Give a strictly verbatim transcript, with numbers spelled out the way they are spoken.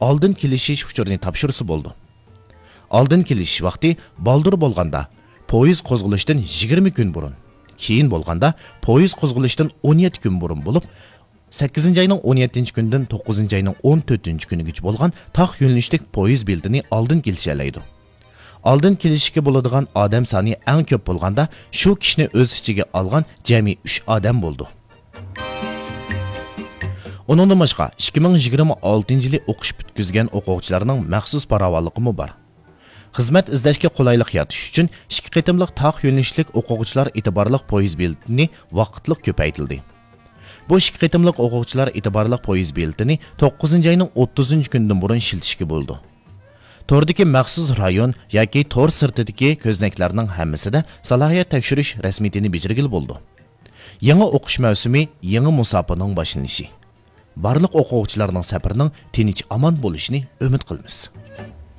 ئالدىن كېلىشىش ئۇچۇرىنى تاپشۇرسا بولىدۇ. ئالدىن كېلىشىش ۋاقتى بالدۇر بولغاندا، پويىز قوزغىلىشتىن يىگىرمە كۈن بۇرۇن، كېيىن بولغاندا، پويىز قوزغىلىشتىن ئون يەتتە كۈن بۇرۇن بولۇپ، سەككىزىنچى ئاينىڭ ئون يەتتىنچى كۈنىدىن توققۇزىنچى ئاينىڭ ئون تۆتىنچى كۈنىگىچە بولغان تاق يۆنىلىشلىك پويىز بېلىتىنى ئالدىن كېلىشەلەيدۇ. ئالدىن كېلىشكە بولىدىغان ئادەم سانى ئەڭ كۆپ بولغاندا، شۇ كىشىنى ئۆز ئىچىگە ئالغان جەمئىي ئۈچ ئادەم بولىدۇ. ئۇنىڭدىن باشقا، ئىككى مىڭ يىگىرمە ئالتىنچى يىلى ئوقۇش پۈتكۈزگەن ئوقۇغۇچىلارنىڭ مەخسۇس پاراۋانلىقىمۇ بار. خىزمەت ئىزدەشكە قولايلىق يارىتىش ئۈچۈن ئىككى قېتىملىق تاق يۆنىلىشلىك ئوقۇغۇچىلار ئېتىبارلىق پويىز بېلىتىنى ۋاقىتلىق كۆپەيتىلدى. بۇ ئىككى قېتىملىق ئوقۇغۇچىلار ئېتىبارلىق پويىز بېلىتىنى توققۇزىنچى ئاينىڭ ئوتتۇزىنچى كۈنىدىن بۇرۇن ئىشلىتىشكە بولىدۇ. توردىكى مەخسۇس رايون ياكى تور سىرتىدىكى كۆزنەكلەرنىڭ ھەممىسىدە سالاھىيەت تەكشۈرۈش رەسمىيىتىنى بېجىرگىلى بولىدۇ. يېڭى ئوقۇش مەۋسۇمى، يېڭى مۇساپىنىڭ باشلىنىشى. بارلىق ئوقۇغۇچىلارنىڭ سەپىرىنىڭ تىنچ-ئامان بولۇشىنى ئۈمىد قىلىمىز.